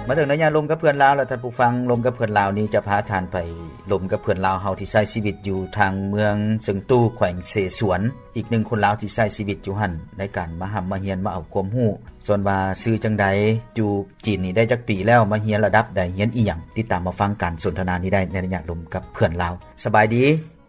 ມາເຖິງໄລຍະລົມກັບເພື່ອນລາວແລ້ວ ທ່ານຜູ້ຟັງ, ລົມກັບເພື່ອນລາວນີ້ຈະພາທ່ານໄປລົມກັບເພື່ອນລາວເຮົາທີ່ໃຊ້ຊີວິດຢູ່ທາງເມືອງເຊິ່ງຕູ ແຂວງເຊສວນ, ອີກໜຶ່ງຄົນລາວທີ່ໃຊ້ຊີວິດຢູ່ຫັ້ນ ໃນການມາຮ່ຳມາຮຽນ ມາເອົາຄວາມຮູ້. ສ່ວນວ່າຊື່ຈັ່ງໃດ, ຢູ່ຈີນນີ້ໄດ້ຈັກປີແລ້ວ, ມາຮຽນລະດັບໃດ, ຮຽນອີ່ຫຍັງ? ຕິດຕາມມາຟັງການສົນທະນານີ້ໄດ້ໃນໄລຍະລົມກັບເພື່ອນລາວ. ສະບາຍດີ.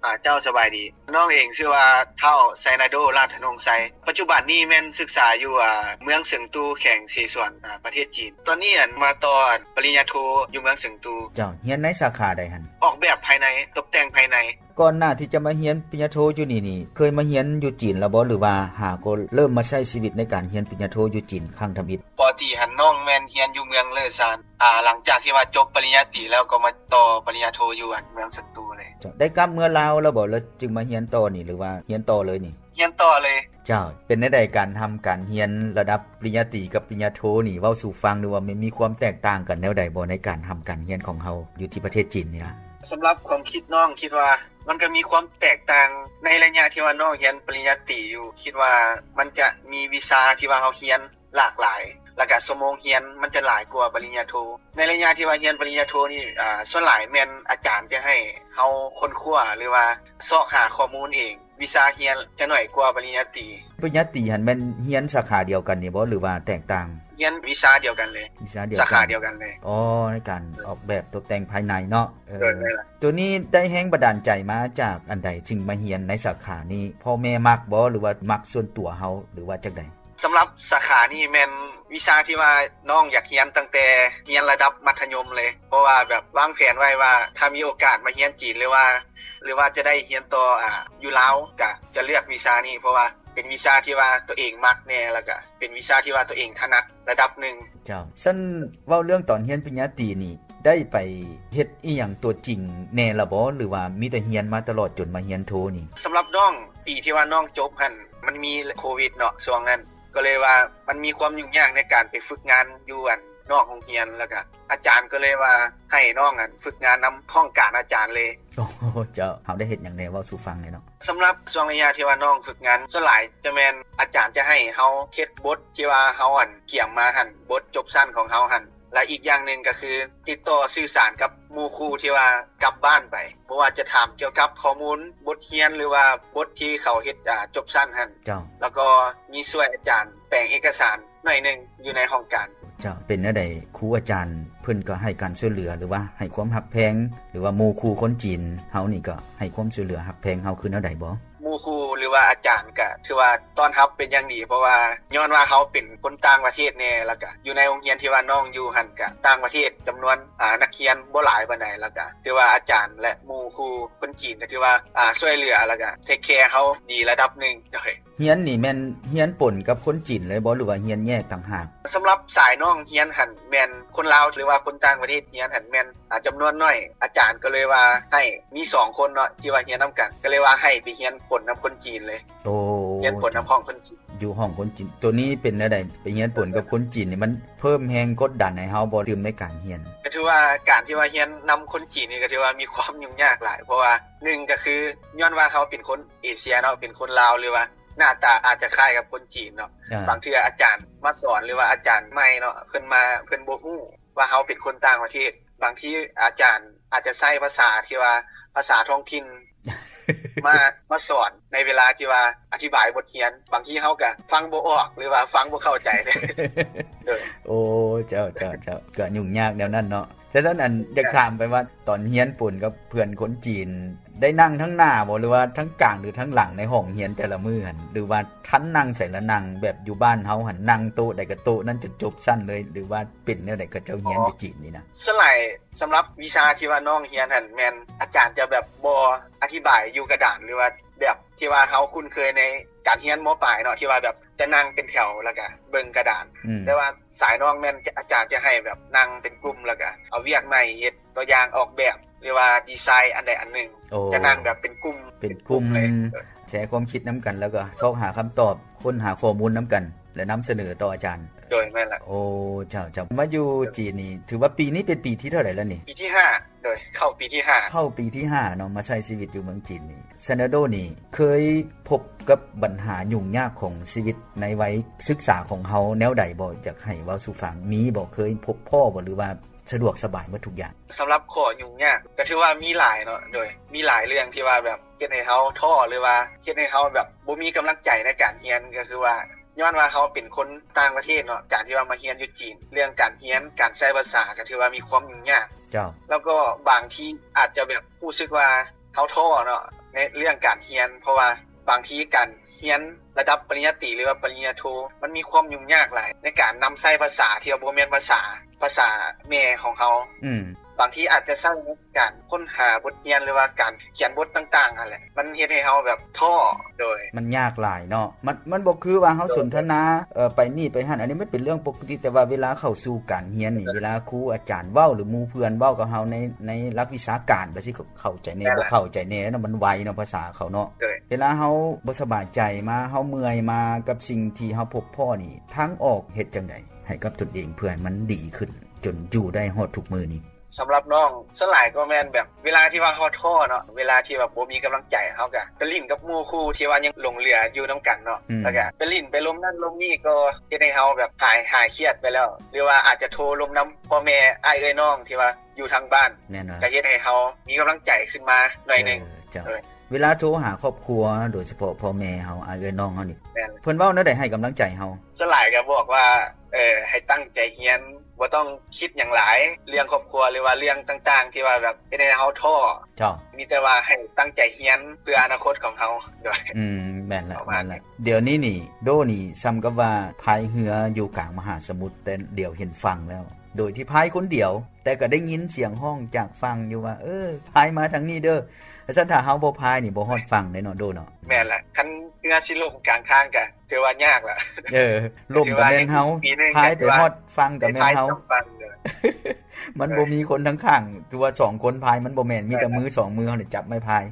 ອາ ເຈົ້າ ສະບາຍດີ. ນ້ອງເອງຊື່ວ່າ ທ້າວ ໄຊນາໂດ ລາດທະນົງໄຊ. ປັດຈຸບັນນີ້ແມ່ນສຶກສາຢູ່ ອາ ເມືອງເຊິ່ງຕູ ແຂວງເຊສວນ ອາ ປະເທດຈີນ. ຕອນນີ້ ອັນ ມາຕໍ່ ອັນ ປະລິນຍາໂທຢູ່ເມືອງເຊິ່ງຕູ. ເຈົ້າ ຮຽນໃນສາຂາໃດຫັ້ນ? ອອກແບບພາຍໃນ, ຕົບແຕ່ງພາຍໃນ. ກ່ອນໜ້າທີ່ຈະມາຮຽນປະລິນຍາໂທຢູ່ນີ້ນີ້ ເຄີຍມາຮຽນຢູ່ຈີນແລ້ວບໍ່ ຫຼືວ່າຫາກໍເລີ່ມມາໃຊ້ຊີວິດໃນການຮຽນປະລິນຍາໂທຢູ່ຈີນຄັ້ງທຳອິດ? ປົກກະຕິຫັ້ນ ນ້ອງແມ່ນຮຽນຢູ່ເມືອງເລີຊານ. ອາ ຫຼັງຈາກທີ່ວ່າຈົບປະລິນຍາຕີແລ້ວ ກໍມາຕໍ່ປະລິນຍາໂທຢູ່ ອັນ ເມືອງເຊີງຕູເລີຍ. ເຈົ້າ ໄດ້ກັບເມືອລາວແລ້ວບໍ່ ແລ້ວຈຶ່ງມາຮຽນຕໍ່ນີ້ ຫຼືວ່າຮຽນຕໍ່ເລີຍນີ້? ຮຽນຕໍ່ເລີຍ. ເຈົ້າ ເປັນແນວໃດການຮ່ຳການຮຽນລະດັບປະລິນຍາຕີກັບປະລິນຍາໂທນີ້ ເວົ້າສູ່ຟັງດູວ່າ ມັນມີຄວາມແຕກຕ່າງກັນແນວໃດບໍ່ ໃນການຮ່ຳການຮຽນຂອງເຮົາຢູ່ທີ່ປະເທດຈີນນີ້ລະ? ສຳລັບຄວາມຄິດນ້ອງ ຄິດວ່າມັນກໍມີຄວາມແຕກຕ່າງ ໃນໄລຍະທີ່ວ່ານ້ອງຮຽນປະລິນຍາຕີຢູ່ ຄິດວ່າມັນຈະມີວິຊາທີ່ວ່າເຮົາຮຽນ ຫຼາກຫຼາຍ ແລ້ວກະຊົ່ວໂມງຮຽນມັນຈະຫຼາຍກວ່າປະລິນຍາໂທ. ໃນໄລຍະທີ່ວ່າຮຽນປະລິນຍາໂທນີ້ ອາ ສ່ວນຫຼາຍແມ່ນອາຈານຈະໃຫ້ເຮົາຄົ້ນຄວ້າ ຫຼືວ່າຊອກຫາຂໍ້ມູນເອງ. ວິຊາຮຽນຈະໜ້ອຍກວ່າປະລິນຍາຕີ. ປະລິນຍາຕີຫັ້ນແມ່ນຮຽນສາຂາດຽວກັນນີ້ບໍ່ ຫຼືວ່າແຕກຕ່າງ? ຮຽນວິຊາດຽວກັນເລີຍ. ວິຊາດຽວກັນ. ສາຂາດຽວກັນເລີຍ. ອໍ ໃນການອອກແບບຕົບແຕ່ງພາຍໃນເນາະ. ເອີ ໂດຍ ແມ່ນລະ. ໂຕນີ້ໄດ້ແຮງບັນດານໃຈມາຈາກອັນໃດ ຈຶ່ງມາຮຽນໃນສາຂານີ້? ພໍ່ແມ່ມັກບໍ່ ຫຼືວ່າມັກສ່ວນຕົວເຮົາ ຫຼືວ່າຈັ່ງໃດ? ສຳລັບສາຂານີ້ແມ່ນວິຊາທີ່ວ່ານ້ອງຢາກຮຽນຕັ້ງແຕ່ຮຽນລະດັບມັດທະຍົມເລີຍ, ເພາະວ່າແບບວາງແຜນໄວ້ວ່າ ຖ້າມີໂອກາດມາຮຽນຈີນ ຫຼືວ່າ ຫຼືວ່າຈະໄດ້ຮຽນຕໍ່ ອາ ຢູ່ລາວ ກະຈະເລືອກວິຊານີ້ ເພາະວ່າເປັນວິຊາທີ່ວ່າຕົວເອງມັກແດ່ ແລ້ວກະເປັນວິຊາທີ່ວ່າຕົວເອງຖະໜັດລະດັບໜຶ່ງ. ເຈົ້າ ຊັ້ນເວົ້າເລື່ອງຕອນຮຽນປະລິນຍາຕີນີ້ ໄດ້ໄປເຮັດອີ່ຫຍັງຕົວຈິງແດ່ລະບໍ່ ຫຼືວ່າມີແຕ່ຮຽນມາຕະຫຼອດຈົນມາຮຽນໂທນີ້? ສຳລັບນ້ອງ ປີທີ່ວ່ານ້ອງຈົບຫັ້ນ ມັນມີໂຄວິດເນາະ ຊ່ວງນັ້ນ ກໍເລີຍວ່າມັນມີຄວາມຫຍຸ້ງຍາກໃນການໄປຝຶກງານຢູ່ ອັນ ນອກໂຮງຮຽນ ແລ້ວກະອາຈານກໍເລີຍວ່າໃຫ້ນ້ອງ ອັນ ຝຶກງານນຳຫ້ອງການອາຈານເລີຍ. ໂອ້ ເຈົ້າ ເຮົາໄດ້ເຮັດຫຍັງແດ່ ເວົ້າສູ່ຟັງແດ່ເນາະ. ສຳລັບຊ່ວງໄລຍະທີ່ວ່ານ້ອງຝຶກງານ ສ່ວນຫຼາຍຈະແມ່ນອາຈານຈະໃຫ້ເຮົາເຮັດບົດທີ່ວ່າເຮົາ ອັນ ກຽມມາຫັ້ນ ບົດຈົບຊັ້ນຂອງເຮົາຫັ້ນ. ແລະ ອີກຢ່າງໜຶ່ງກໍຄືຕິດຕໍ່ສື່ສານກັບໝູ່ຄູ່ທີ່ວ່າກັບບ້ານໄປ, ບໍ່ວ່າຈະຖາມກ່ຽວກັບຂໍ້ມູນບົດຮຽນ ຫຼືວ່າບົດທີ່ເຂົາເຮັດ ອາ ຈົບຊັ້ນຫັ້ນ. ເຈົ້າ. ແລ້ວກໍມີຊ່ວຍອາຈານແປງເອກະສານໜ້ອຍໜຶ່ງຢູ່ໃນຫ້ອງການ. ເຈົ້າ. ເປັນແນວໃດ ຄູອາຈານເພິ່ນກໍໃຫ້ການຊ່ວຍເຫຼືອ ຫຼືວ່າໃຫ້ຄວາມຮັກແພງ ຫຼືວ່າໝູ່ຄູ່ຄົນຈີນເຮົານີ້ກໍໃຫ້ຄວາມຊ່ວຍເຫຼືອຮັກແພງເຮົາຄືແນວໃດບໍ່? ໝູ່ຄູ່ ຫຼືວ່າອາຈານກະຖືວ່າຕ້ອນຮັບເປັນຢ່າງດີ, ເພາະວ່າຍ້ອນວ່າເຮົາເປັນຄົນຕ່າງປະເທດແດ່ ແລ້ວກະຢູ່ໃນໂຮງຮຽນທີ່ວ່ານ້ອງຢູ່ຫັ້ນກະຕ່າງປະເທດ ຈຳນວນ ອາ ນັກຮຽນບໍ່ຫຼາຍປານໃດ, ແລ້ວກະຖືວ່າອາຈານ ແລະ ໝູ່ຄູ່ຄົນຈີນກະຖືວ່າ ອາ ຊ່ວຍເຫຼືອ ແລ້ວກະເທກແຄເຮົາດີລະດັບໜຶ່ງ. ໂດຍ. ຮຽນນີ້ແມ່ນຮຽນປົນກັບຄົນຈີນເລີຍບໍ່ ຫຼືວ່າຮຽນແຍກຕ່າງຫາກ? ສຳລັບສາຍນ້ອງຮຽນຫັ້ນແມ່ນຄົນລາວ ຫຼືວ່າຄົນຕ່າງປະເທດຮຽນຫັ້ນແມ່ນ ອາ ຈຳນວນໜ້ອຍ, ອາຈານກໍເລີຍວ່າໃຫ້ມີສອງຄົນເນາະ ທີ່ວ່າຮຽນນຳກັນ ກໍເລີຍວ່າໃຫ້ໄປຮຽນປົນນຳຄົນຈີນເລີຍ. ໂອ້ ຮຽນປົນນຳຫ້ອງຄົນຈີນ. ຢູ່ຫ້ອງຄົນຈີນ. ໂຕນີ້ເປັນແນວໃດ ໄປຮຽນປົນກັບຄົນຈີນນີ້ ມັນເພີ່ມແຮງກົດດັນໃຫ້ເຮົາບໍ່ຕື່ມໃນການຮຽນ? ກໍຖືວ່າການທີ່ວ່າຮຽນນຳຄົນຈີນນີ້ ກໍຖືວ່າມີຄວາມຫຍຸ້ງຍາກຫຼາຍ, ເພາະວ່າໜຶ່ງກໍຄືຍ້ອນວ່າເຮົາເປັນຄົນເອເຊຍເນາະ ເປັນຄົນລາວ ຫຼືວ່າໜ້າຕາອາດຈະຄ້າຍກັບຄົນຈີນເນາະ. ອາ. ບາງເທື່ອອາຈານມາສອນ ຫຼືວ່າອາຈານໃໝ່ເນາະ ເພິ່ນມາ ເພິ່ນບໍ່ຮູ້ ວ່າເຮົາເປັນຄົນຕ່າງປະເທດ, ບາງທີອາຈານອາດຈະໃຊ້ພາສາທີ່ວ່າພາສາທ້ອງຖິ່ນ ມາ ມາສອນໃນເວລາທີ່ວ່າອະທິບາຍບົດຮຽນ, ບາງທີເຮົາກະຟັງບໍ່ອອກ ຫຼືວ່າຟັງບໍ່ເຂົ້າໃຈ. ໂດຍ. ໂອ້ ເຈົ້າ ເຈົ້າ ເຈົ້າ ກະຫຍຸ້ງຍາກແນວນັ້ນເນາະ. ສະນັ້ນ ອັນ ຢາກຖາມໄປວ່າ ຕອນຮຽນປົນກັບເພື່ອນຄົນຈີນ ໄດ້ນັ່ງທາງໜ້າບໍ່ ຫຼືວ່າທາງກາງ ຫຼືທາງຫຼັງໃນຫ້ອງຮຽນແຕ່ລະມື້ຫັ້ນ ຫຼືວ່າທ່ານນັ່ງໃສລະນັ່ງ ແບບຢູ່ບ້ານເຮົາຫັ້ນ ນັ່ງໂຕະໃດກໍໂຕະນັ້ນຈົນຈົບຊັ້ນເລີຍ ຫຼືວ່າເປັນແນວໃດ ເຂົາເຈົ້າຮຽນຢູ່ຈີນນີ້ນະ? ສ່ວນຫຼາຍສຳລັບວິຊາທີ່ວ່ານ້ອງຮຽນຫັ້ນ ແມ່ນອາຈານຈະແບບບໍ່ອະທິບາຍຢູ່ກະດານ ຫຼືວ່າແບບທີ່ວ່າເຮົາຄຸ້ນເຄີຍໃນການຮຽນ ມ.ປາຍ ເນາະ ທີ່ວ່າແບບຈະນັ່ງເປັນແຖວ ແລ້ວກະເບິ່ງກະດານ. ອືມ. ແຕ່ວ່າສາຍນ້ອງແມ່ນອາຈານຈະໃຫ້ແບບນັ່ງເປັນກຸ່ມ ແລ້ວກະເອົາວຽກມາໃຫ້ເຮັດ ຕົວຢ່າງອອກແບບ ຫຼືວ່າດີໄຊອັນໃດອັນໜຶ່ງ. ໂອ້ ຈະນັ່ງແບບເປັນກຸ່ມ ເປັນກຸ່ມ ເປັນກຸ່ມເລີຍ. ແຊຄວາມຄິດນຳກັນ ແລ້ວກໍຊອກຫາຄຳຕອບ ຄົ້ນຫາຂໍ້ມູນນຳກັນ ແລະ ນຳສະເໜີຕໍ່ອາຈານ. ໂດຍ ແມ່ນລະ. ໂອ້ ເຈົ້າໆ ມາຢູ່ຈີນນີ້ ຖືວ່າປີນີ້ເປັນປີທີເທົ່າໃດແລ້ວນີ້? ປີທີຫ້າ. ໂດຍ ເຂົ້າປີທີຫ້າ. ເຂົ້າປີທີຫ້າເນາະ ມາໃຊ້ຊີວິດຢູ່ເມືອງຈີນນີ້ ຊັນເດີໂດນີ້ເຄີຍພົບກັບບັນຫາຫຍຸ້ງຍາກຂອງຊີວິດໃນໄວສຶກສາຂອງເຮົາແນວໃດບໍ່? ຢາກໃຫ້ເວົ້າສູ່ຟັງ ມີບໍ່? ເຄີຍພົບພໍ້ບໍ່ ຫຼືວ່າສະດວກສະບາຍໝົດທຸກຢ່າງ? ສຳລັບຂໍ້ຫຍຸ້ງຍາກ ກໍຖືວ່າມີຫຼາຍເນາະ ໂດຍ ມີຫຼາຍເລື່ອງທີ່ວ່າແບບເຮັດໃຫ້ເຮົາທໍ້ ຫຼືວ່າເຮັດໃຫ້ເຮົາແບບບໍ່ມີກຳລັງໃຈໃນການຮຽນ ກໍຄືວ່າ ຍ້ອນວ່າເຮົາເປັນຄົນຕ່າງປະເທດເນາະ ການທີ່ວ່າມາຮຽນຢູ່ຈີນ ເລື່ອງການຮຽນ ການໃຊ້ພາສາ ກໍຖືວ່າມີຄວາມຫຍຸ້ງຍາກ. ເຈົ້າ. ແລ້ວກໍບາງທີອາດຈະແບບຮູ້ສຶກວ່າເຮົາທໍ້ເນາະ ໃນເລື່ອງການຮຽນ ເພາະວ່າບາງທີການຮຽນລະດັບປະລິນຍາຕີ ຫຼືວ່າປະລິນຍາໂທ ມັນມີຄວາມຫຍຸ້ງຍາກຫຼາຍ ໃນການນຳໃຊ້ພາສາທີ່ວ່າບໍ່ແມ່ນພາສາ ພາສາແມ່ຂອງເຮົາ. ອືມ. ບາງທີອາດຈະໃຊ້ໃນການຄົ້ນຫາບົດຮຽນ ຫຼືວ່າການຂຽນບົດຕ່າງໆຫັ້ນແຫຼະ ມັນເຮັດໃຫ້ເຮົາແບບທໍ້. ໂດຍ. ມັນຍາກຫຼາຍເນາະ ມັນ ມັນບໍ່ຄືວ່າເຮົາ ໂດຍ ສົນທະນາ ເອີ ໄປນີ້ໄປຫັ້ນ ອັນນີ້ມັນເປັນເລື່ອງປົກກະຕິ ແຕ່ວ່າເວລາເຂົ້າສູ່ການຮຽນນີ້ ໂດຍ ເວລາຄູອາຈານເວົ້າ ຫຼືໝູ່ເພື່ອນເວົ້າກັບເຮົາໃນ ໃນຫຼັກວິຊາການ ແບບຊິເຂົ້າໃຈແດ່ ແມ່ນລະ ບໍ່ເຂົ້າໃຈແດ່ເນາະ ມັນໄວເນາະ ພາສາເຂົາເນາະ. ໂດຍ. ເວລາເຮົາບໍ່ສະບາຍໃຈມາ ເຮົາເມື່ອຍມາກັບສິ່ງທີ່ເຮົາພົບພໍ້ນີ້ ທາງອອກເຮັດຈັ່ງໃດໃຫ້ກັບຕົນເອງ ເພື່ອໃຫ້ມັນດີຂຶ້ນ ຈົນຢູ່ໄດ້ຮອດທຸກມື້ນີ້? ສຳລັບນ້ອງ ສ່ວນຫຼາຍກໍແມ່ນແບບເວລາທີ່ວ່າເຮົາທໍ້ເນາະ ເວລາທີ່ແບບບໍ່ມີກຳລັງໃຈ ເຮົາກໍໄປຫຼິ້ນກັບໝູ່ຄູ່ທີ່ວ່າຍັງຫຼົງເຫຼືອຢູ່ນຳກັນເນາະ ອືມ ແລ້ວກໍໄປຫຼິ້ນໄປລົມນັ້ນລົມນີ້ ກໍເຮັດໃຫ້ເຮົາແບບຫາຍ ຫາຍຄຽດໄປແລ້ວ ຫຼືວ່າອາດຈະໂທລົມນຳພໍ່ແມ່ ອ້າຍເອື້ອຍນ້ອງທີ່ວ່າຢູ່ທາງບ້ານ ແນ່ນອນ ກໍເຮັດໃຫ້ເຮົາມີກຳລັງໃຈຂຶ້ນມາໜ້ອຍໜຶ່ງ. ເອີ ເຈົ້າ. ໂດຍ. ເວລາໂທຫາຄອບຄົວ ໂດຍສະເພາະພໍ່ແມ່ເຮົາ ອ້າຍເອື້ອຍນ້ອງເຮົານີ້ ແມ່ນ ເພິ່ນເວົ້າແນວໃດໃຫ້ກຳລັງໃຈເຮົາ? ສ່ວນຫຼາຍກໍບອກວ່າ ເອີ ໃຫ້ຕັ້ງໃຈຮຽນ ບໍ່ຕ້ອງຄິດຫຍັງຫຼາຍ ເລື່ອງຄອບຄົວ ຫຼືວ່າເລື່ອງຕ່າງໆ ທີ່ວ່າແບບເຮັດໃຫ້ເຮົາທໍ້. ເຈົ້າ. ມີແຕ່ວ່າໃຫ້ຕັ້ງໃຈຮຽນເພື່ອອະນາຄົດຂອງເຮົາ. ໂດຍ. ອືມ ແມ່ນລະ ປະມານນັ້ນແຫຼະ. ດຽວນີ້ນີ້ ໂດນີ້ສ່ຳກັບວ່າພາຍເຮືອຢູ່ກາງມະຫາສະໝຸດ ແຕ່ດຽວເຫັນຝັ່ງແລ້ວ ໂດຍທີ່ພາຍຄົນດຽວ ແຕ່ກໍໄດ້ຍິນສຽງຮ້ອງຈາກຝັ່ງຢູ່ວ່າ ເອີ ພາຍມາທາງນີ້ເດີ. ແລ້ວຊັ້ນຖ້າເຮົາບໍ່ພາຍນີ້ ບໍ່ຮອດຝັ່ງເດ້ເນາະ ໂດເນາະ. ແມ່ນລະ ຄັນເຮືອຊິລົ້ມກາງທາງກໍຖືວ່າຍາກລະ. ເອີ ລົ້ມກໍແມ່ນເຮົາ ພາຍໄປຮອດຝັ່ງກໍແມ່ນເຮົາ. ມັນບໍ່ມີຄົນທາງຂ້າງ ຕົວສອງຄົນພາຍມັນບໍ່ແມ່ນ ມີແຕ່ມືສອງມືເຮົານີ້ຈັບໄມ້ພາຍ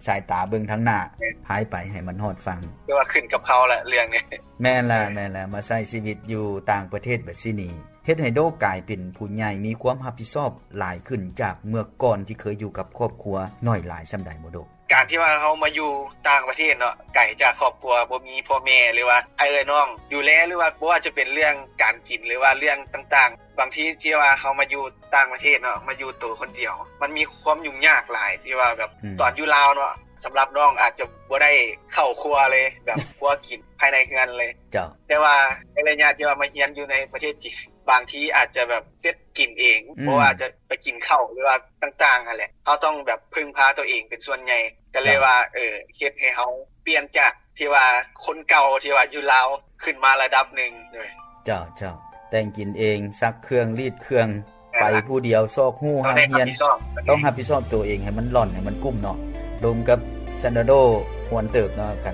ສາຍຕາເບິ່ງທາງໜ້າ ພາຍໄປໃຫ້ມັນຮອດຝັ່ງ. ຖືວ່າຂຶ້ນກັບເຮົາລະເລື່ອງນີ້. ແມ່ນລະ ແມ່ນລະ ມາໃຊ້ຊີວິດຢູ່ຕ່າງປະເທດແບບຊີ້ນີ້ ເຮັດໃຫ້ໂດກາຍເປັນຜູ້ໃຫຍ່ ມີຄວາມຮັບຜິດຊອບຫຼາຍຂຶ້ນຈາກເມື່ອກ່ອນທີ່ເຄີຍຢູ່ກັບຄອບຄົວໜ້ອຍຫຼາຍສ່ຳໃດບໍ່ໂດ? ການທີ່ວ່າເຮົາມາຢູ່ຕ່າງປະເທດເນາະ ໄກຈາກຄອບຄົວ ບໍ່ມີພໍ່ແມ່ ຫຼືວ່າອ້າຍເອື້ອຍນ້ອງດູແລ ຫຼືວ່າບໍ່ວ່າຈະເປັນເລື່ອງການກິນ ຫຼືວ່າເລື່ອງຕ່າງໆ ບາງທີທີ່ວ່າເຮົາມາຢູ່ຕ່າງປະເທດເນາະ ມາຢູ່ໂຕຄົນດຽວ ມັນມີຄວາມຫຍຸ້ງຍາກຫຼາຍ ທີ່ວ່າແບບ ອືມ ຕອນຢູ່ລາວເນາະ ສຳລັບນ້ອງອາດຈະບໍ່ໄດ້ເຂົ້າຄົວເລີຍ ແບບຄົວກິນພາຍໃນເຮືອນເລີຍ. ເຈົ້າ. ແຕ່ວ່າໃນໄລຍະທີ່ວ່າມາຮຽນຢູ່ໃນປະເທດຈີນ ບາງທີອາດຈະແບບເຮັດກິນເອງ ອືມ ບໍ່ວ່າຈະໄປກິນເຂົ້າ ຫຼືວ່າຕ່າງໆຫັ້ນແຫຼະ ເຮົາຕ້ອງແບບເພິ່ງພາຕົວເອງເປັນສ່ວນໃຫຍ່ ກໍເລີຍ ເຈົ້າ ວ່າ ເອີ ເຮັດໃຫ້ເຮົາປ່ຽນຈາກທີ່ວ່າຄົນເກົ່າທີ່ວ່າຢູ່ລາວ ຂຶ້ນມາລະດັບໜຶ່ງ. ໂດຍ. ເຈົ້າ ເຈົ້າ. ແຕ່ງກິນເອງ ຊັກເຄື່ອງ ລີດເຄື່ອງ ແມ່ນລະ ໄປຜູ້ດຽວ ຊອກຮູ້ ເຮົາໄດ້ຮັບຜິດຊອບ ຕ້ອງຮັບຜິດຊອບຕົວເອງໃຫ້ມັນລ່ອນ ໃຫ້ມັນກຸ້ມເນາະ. ລົມກັບຊັນເດີໂດ ມ່ວນເຕີບເນາະ ກັນ